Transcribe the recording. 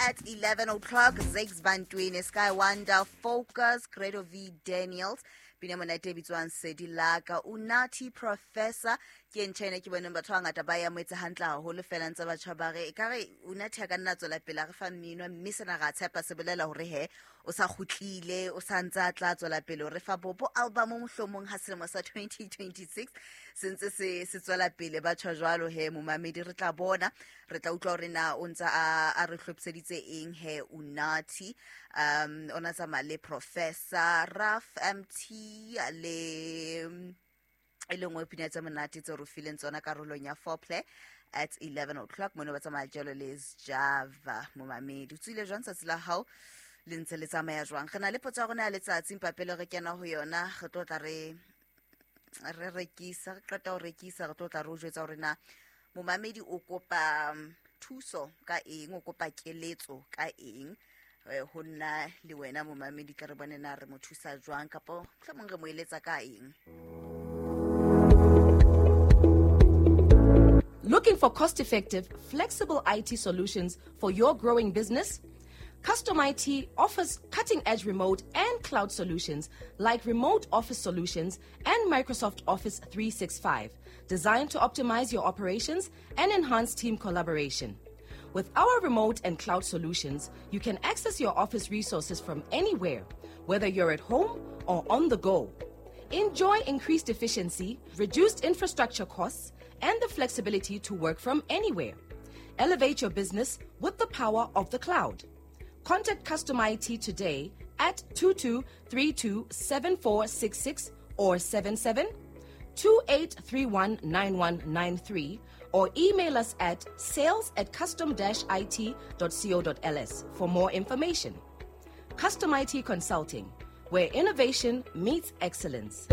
at 11 o'clock, Zakes Bantwini, Sky Wonder, Focus, Credo V Daniels, pina monate e bitswang Sedi Laka, Unathi Professor, ke ntho ena ke boneng batho ba bangata ba e amohetse hantle haholo fela ntse batjha ba re ekare Unathi a ka nna tswela pele a re fa mmino, mme sena ra tshepa se bolela hore he o sa kgutlile, o sa ntse a tla tswela pele o re fa bobo album mohlomong ha selemo sa 2026 se ntse se tswela pele. Ba tjho jwalo he momamedi, re tla bona, re tla utlwa hore na o ntse a re hlophiseditse eng he Unathi. O na tsamaya le Professor Raf MT le e le nngwe pina tse monate tse re fileng tsona karolong ya foreplay at 11 o'clock, mono ba tsamaya jalo le Java. Momamedi, o tswile jwang tsatsi la hao le ntse le tsamaya jwang? Re na le potso ya rona ya letsatsi mpapele re kena ho yona, re tlo tla re re rekisa, re qeta ho rekisa, re tlo tla re o jwetsa hore na momamedi o kopa thuso ka eng, o kopa keletso ka eng ho nna le wena momamedi, tla re bone na re mo thusa jwang kapa mohlomong re mo eletsa ka eng. Looking for cost-effective, flexible IT solutions for your growing business? Custom IT offers cutting-edge remote and cloud solutions like remote office solutions and Microsoft Office 365, designed to optimize your operations and enhance team collaboration. With our remote and cloud solutions, you can access your office resources from anywhere, whether you're at home or on the go. Enjoy increased efficiency, reduced infrastructure costs, and the flexibility to work from anywhere. Elevate your business with the power of the cloud. Contact Custom IT today at 22327466 or 77 28319193, or email us at sales@custom-it.co.ls for more information. Custom IT Consulting, where innovation meets excellence.